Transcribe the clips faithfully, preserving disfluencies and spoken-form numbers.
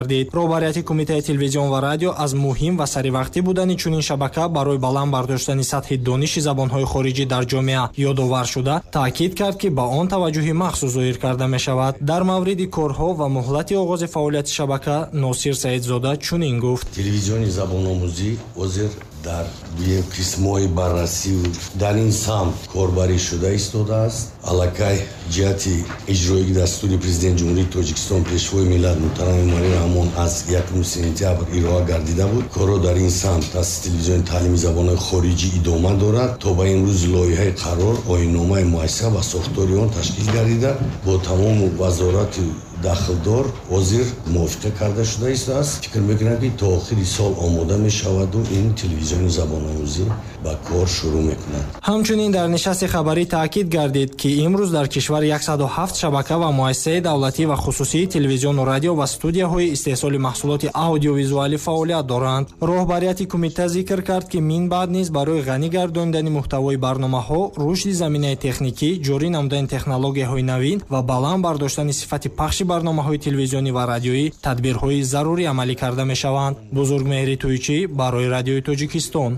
Роҳбарияти Кумитаи телевизион ва радио аз муҳим ва саривақтӣ будани чунин шабака барои баланд бардоштани сатҳи дониши забонҳои хориҷӣ дар ҷомеа ёдовар шуда, таъкид кард, ки ба он таваҷҷӯҳи махсус зоҳир карда мешавад. Дар мавриди корҳо ва муҳлати оғози фаъолияти шабака Носир Саидзода чунин гуфт: Телевизиони забономӯзӣ ҳозир дар қисмҳои баррасию дар ин самт корбарӣ шуда истодааст. Аллакай ҷиҳати иҷрои дастури Президенти Ҷумҳурии Тоҷикистон, Пешвои миллат муҳтарам Эмомалӣ Раҳмон аз якуми сентябр ироа гардида буд, корҳо дар ин самт таъсиси телевизиони таълими забонҳои хориҷӣ идома дорад. То ба имрӯз лоиҳаи қарор, оинномаи муассиса ва сохтори он ташкил гардида, бо тамому вазорати дахлдор ҳозир мувофиқа карда шуда истодааст. Фикр мекунам, ки то охири сол омода мешаваду ин телевизиони забономӯзӣ ба кор шурӯъ мекунад. Ҳамчунин дар нишасти хабарӣ таъкид гардид, ки имрӯз дар кишвар яксаду ҳафт шабака ва муассисаи давлатӣ ва хусусии телевизиону радио ва студияҳои истеҳсоли маҳсулоти аудиовизуалӣ фаъолият доранд. Роҳбарияти кумита зикр кард, ки мин баъд низ барои ғанӣ гардонидани муҳтавои барномаҳо, рушди заминаи техникӣ, ҷорӣ намудани технологияҳои навин ва баланд бардоштани сифати пахши барномаҳои телевизионӣ ва радиоӣ тадбирҳои зарурӣ амалӣ карда мешаванд. Бузургмеҳри Тӯйчӣ барои Радиои Тоҷикистон.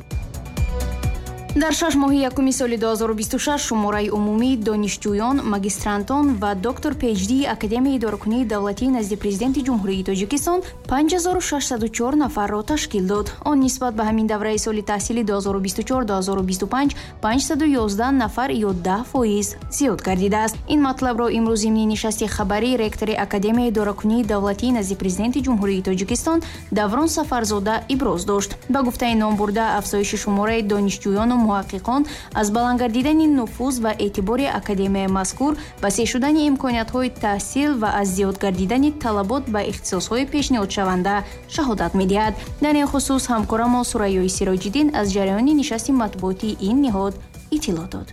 Дар шаш моҳи якуми соли ду ҳазору бисту шаш шумораи умумии донишҷӯён, магистрантон ва доктор P H D Академияи идоракунии давлатии назди Президенти Ҷумҳурии Тоҷикистон панҷ ҳазору шашсаду чор нафарро ташкил дод. Он нисбат ба ҳамин давраи соли таҳсили ду ҳазору бисту чор-ду ҳазору бисту панҷ панҷсаду ёздаҳ нафар ё даҳ фоиз зиёд гардидааст. Ин матлабро имрӯз зимни нишасти хабарии ректори Академияи идоракунии давлатии назди Президенти Ҷумҳурии Тоҷикистон Даврон Сафарзода иброз дошт. Ба гуфтаи номбурда, афзоиши шумораи донишҷӯёну муҳаққиқон аз баланд гардидани нуфуз ва эътибори академияи мазкур, васеъ шудани имкониятҳои таҳсил ва аз зиёд гардидани талабот ба ихтисосҳои пешниҳодшаванда шаҳодат медиҳад. Дар ин хусус ҳамкорамон Сурайёи Сироҷиддин аз ҷараёни нишасти матбуотии ин ниҳод иттилоъ дод.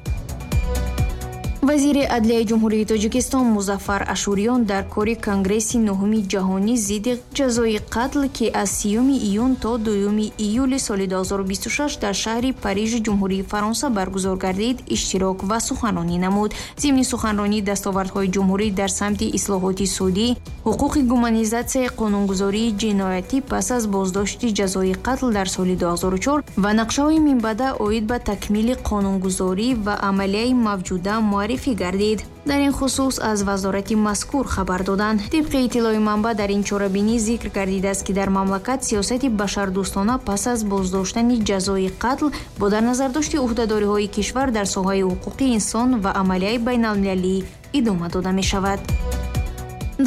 Вазири адлияи Ҷумҳурии Тоҷикистон Музаффар Ашӯриён дар кори Конгресси нуҳуми ҷаҳонӣ зидди ҷазои қатл, ки аз сиюми июн то дуюми июли соли ду ҳазору бисту шаш дар шаҳри Парижи Ҷумҳурии Фаронса баргузор гардид, иштирок ва суханронӣ намуд. Зимни суханронӣ дастовардҳои ҷумҳурӣ дар самти ислоҳоти судӣ, ҳуқуқи, гуманизатсияи қонунгузории ҷиноятӣ пас аз боздошти ҷазои қатл дар соли ду ҳазору чор ва нақшаҳои минбаъда оид ба такмили қонунгузорӣ ва амалияи мавҷуда муаррифӣ гардид. Дар ин хусус аз вазорати мазкур хабар доданд. Тибқи иттилои манбаъ, дар ин чорабинӣ зикр гардидааст, ки дар мамлакат сиёсати башардӯстона пас аз боздоштани ҷазои қатл бо дар назардошти ӯҳдадориҳои кишвар дар соҳаи ҳуқуқи инсон ва амалияи байналмилалӣ идома дода мешавад.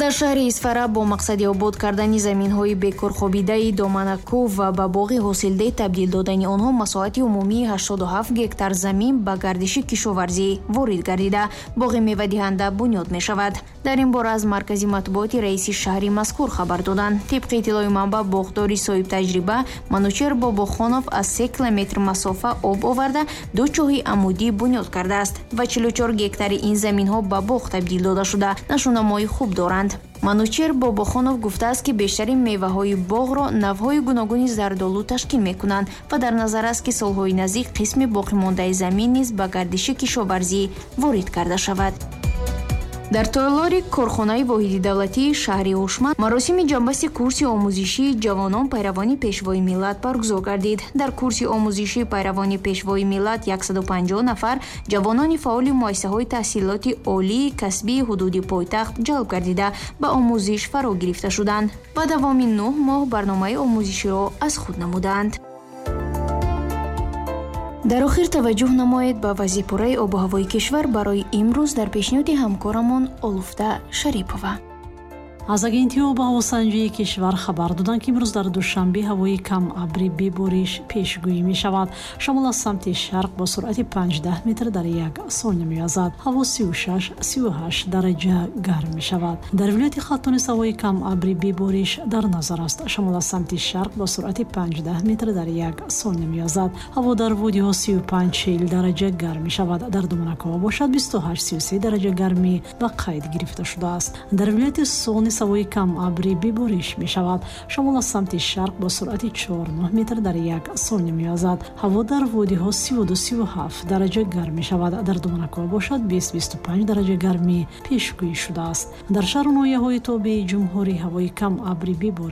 Дар шаҳри Исфара бо мақсади обод кардани заминҳои бекорхобидаи доманакӯҳ ва ба боғи ҳосилдеҳ табдил додани онҳо масоҳати умумии ҳаштоду ҳафт гектар замин ба гардиши кишоварзӣ ворид гардида, боғи мевадиҳанда бунёд мешавад. Дар ин бора аз маркази матбуоти раиси шаҳри мазкур хабар доданд. Тибқи иттилои манбаъ, боғдори соҳибтаҷриба Манучер Бобохонов аз се километр масофа об оварда, ду чоҳи амудӣ бунёд кардааст ва чилу чор гектари ин заминҳо ба боғ табдил дода шуда, нашунамои хуб доранд. Манучер Бобохонов гуфтааст, ки бештари меваҳои боғро навъҳои гуногуни зардолу ташкил мекунанд ва дар назар аст, ки солҳои наздик қисми боқимондаи замин низ ба гардиши кишоварзӣ ворид карда шавад. Дар толори корхонаи воҳиди давлатии шаҳри Ҳушманд маросими ҷамъбасти курси омӯзишии ҷавонон, пайравони Пешвои миллат баргузор гардид. Дар курси омӯзишии пайравони Пешвои миллат яксаду панҷоҳ нафар ҷавонони фаъоли муассисаҳои таҳсилоти олии касбии ҳудуди пойтахт ҷалб гардида, ба омӯзиш фаро гирифта шуданд ва давоми нӯҳ моҳ барномаи омӯзиширо аз худ намуданд. Дар охир таваҷҷӯҳ намоед ба вазъи пурраи обу ҳавои кишвар барои имрӯз дар пешниҳоди ҳамкорамон Олуфта Шарипова. Аз Агентии обу ҳавосанҷии кишвар хабар доданд, ки имрӯз дар Душанбе ҳавои камабрӣ бебориш пешгӯӣ мешавад. Шамол аз самти шарқ бо суръати панҷ-даҳ метр дар як сония мевазад. Ҳаво сию шаш-сию ҳашт дараҷа гарм мешавад. Дар вилояти Хатлон низ ҳавои камабрӣ бебориш дар назар аст. Шамол аз самти шарқ бо суръати панҷ-даҳ метр дар як сония мевазад. Ҳаво дар водиҳо сию панҷ-чил дараҷа гарм мешавад. Дар доманакҳо бошад, бисту ҳашт-сию се дараҷа гармӣ ба қайд гирифта шудааст. Дар вилояти Суғд низ ҳавои камабрӣ бебориш мешавад. Шамол аз самти шарқ бо суръати чор нӯҳ метр дар як сония мевазад. Ҳаво дар водиҳо сиву ду сиву ҳафт дараҷа гарм мешавад. Дар доманакҳо бошад бист бисту панҷ дараҷа гармӣ пешгӯӣ шудааст. Дар шаҳру ноҳияҳои тобеи ҷумҳурӣ ҳавои камабрӣ бебориш.